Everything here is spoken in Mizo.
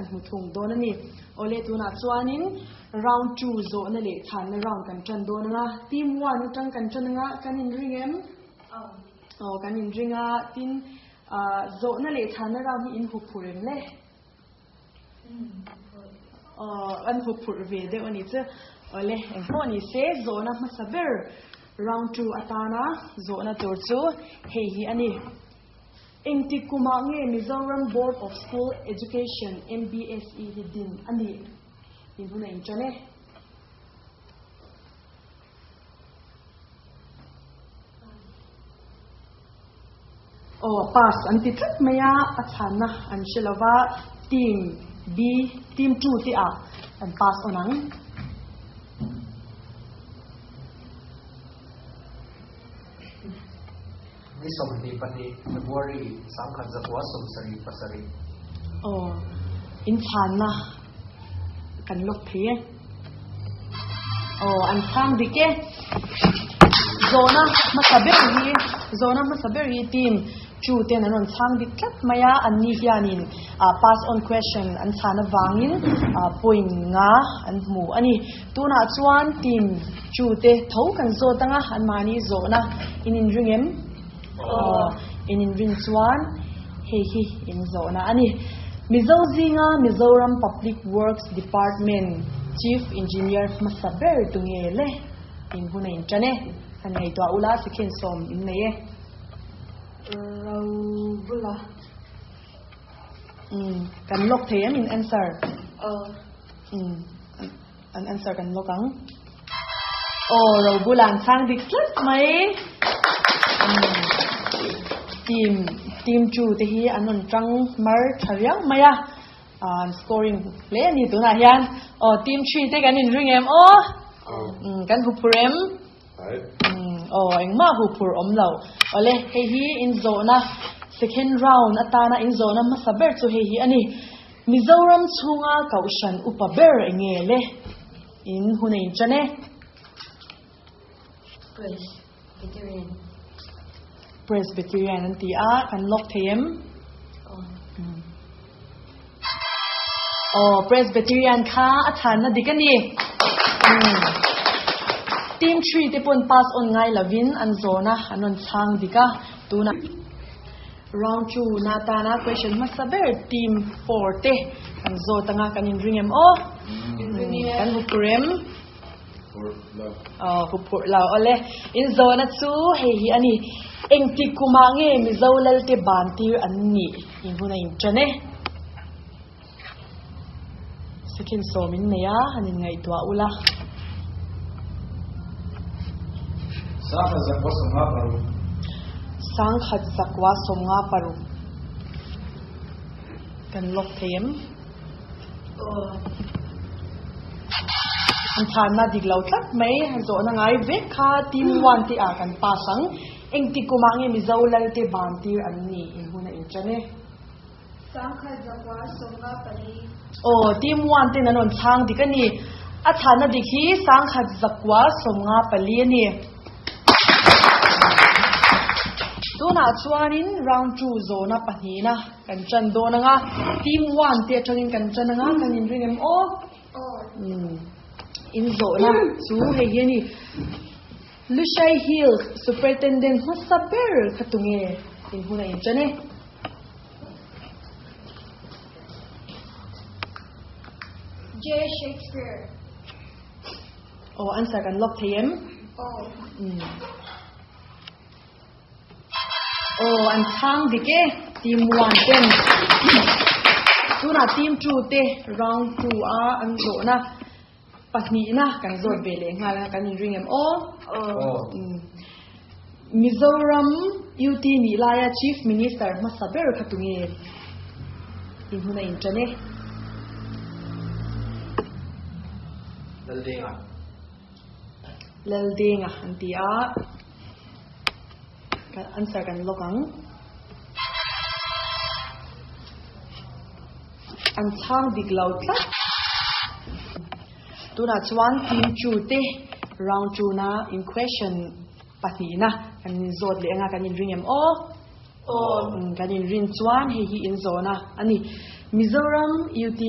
an hmu thung dawn a ni. Awle tunah chuanin round two zawhna leh chhanna round kan tan dawn anga team one atang kan tan anga kan inring em? Aw kan inring a tin zawhna leh chhanna round hi in huphurh em le? Aw an huphurh ve deuh a ni chu. Awle engpawh ni se zawhna hmasa ber round two atana zawhna tur chu hei hi a ni. Engtik kumah nge Mizoram Board of School Education, MBSE, hi din a nih? In hun a inṭan e. Aw, pass an ti tlat mai a, a chhanna an hre lo va, team B, team 2 te ah an pass on ang. Ni 22 February 1977. Aw, in chhanna kan lawk thei e. Aw, an chhang dik e. Zawhna hmasa ber hi, zawhna hmasa ber hi team two ten an rawn chhang dik tlat mai a, an ni hianin pass on question an chhan avangin point nga an hmu a ni. Tunah chuan team two te tho kan zawt anga anmahni zawhna in inring em? Aw, in inrin chuan hei hi in zawhna a ni. Mizo zinga Mizoram Public Works Department Chief Engineer hmasa ber tu nge le? In hun a intan e. Han ngaihtuah ula second sawm in nei e. Robula. Umm, kan lock thei em in answer? Aw. Umm, an answer kan lock ang. Aw, Robula an chhang dik tlat mai. Umm, team, team 2 te hi an rawn tang mar tha riau mai a. An scoring hle a ni tunah hian. Aw, team 3 te kan inring em aw? Umm, kan huphur em? Aw, engmah huphurh awm lo. Awle, hei hi inzawhna second round atana inzawhna hmasa ber chu hei hi a ni. Mizoram chhunga Kohhran upa ber enge le? In hun a inṭan e. Presbyterian. Presbyterian an ti a, kan lawk thei em? Aw, Presbyterian kha a chhanna dik a ni. Team 3 te pawn pass on ngai lovin an zawn a, an rawn chhang dik a. Tuna round 2 na tana question hmasa ber team 4 te kan zawt anga kan inring em aw? Kan huphur em? Aw, huphurh lo. Awle, in zawhna chu hei hi a ni. Engtik kumah nge Mizo Lalte ban tir an nih? In hun a inṭan e. Second sawm in nei a, han inngaihtuah ula. Sangkhat zakua sawmnga paruk. Sangkhat zakua sawmnga paruk. Kan lock thei em? An chhanna dik lo tlat mai, zawhna ngai vek kha team one te ah kan pass ang. Engtik kumah nge Mizo Lalte ban tir an ni in hun a inṭan e. Sangkhat zakua sawmnga pali. Aw, team one ten an rawn chhang dik a ni. A chhanna dik hi sangkhat zakua sawmnga pali a ni. Tunah chuanin round two zawhna pahnihna Kan ṭan dawn ang a, team one te aṭangin kan ṭan ang a, kan inring em aw? Umm, in zawhna chu hei hi a ni. Lushai Hills Superintendent hmasa ber kha tunge in hun a inṭan e? J. Shakespeare. Aw, answer kan lock thei em? Aw. Umm. Aw an chhang dik e team one ten tunah team two te round two a an zawhna pahnihna kan zawt ve leh nghal a kan inring em aw Mizoram UT nih laia Chief Minister hmasa ber kha tunge in hun a inṭan e. Laldenga. Laldenga an ti a. Kan answer kan lock ang. An chhang dik lo tlat. Tunah chuan team 2 te round 2 na in question pahnihna kan zawt leh anga kan inring em aw? Aw. Kan inrin chuan hei hi in zawhna a ni. Mizoram UT.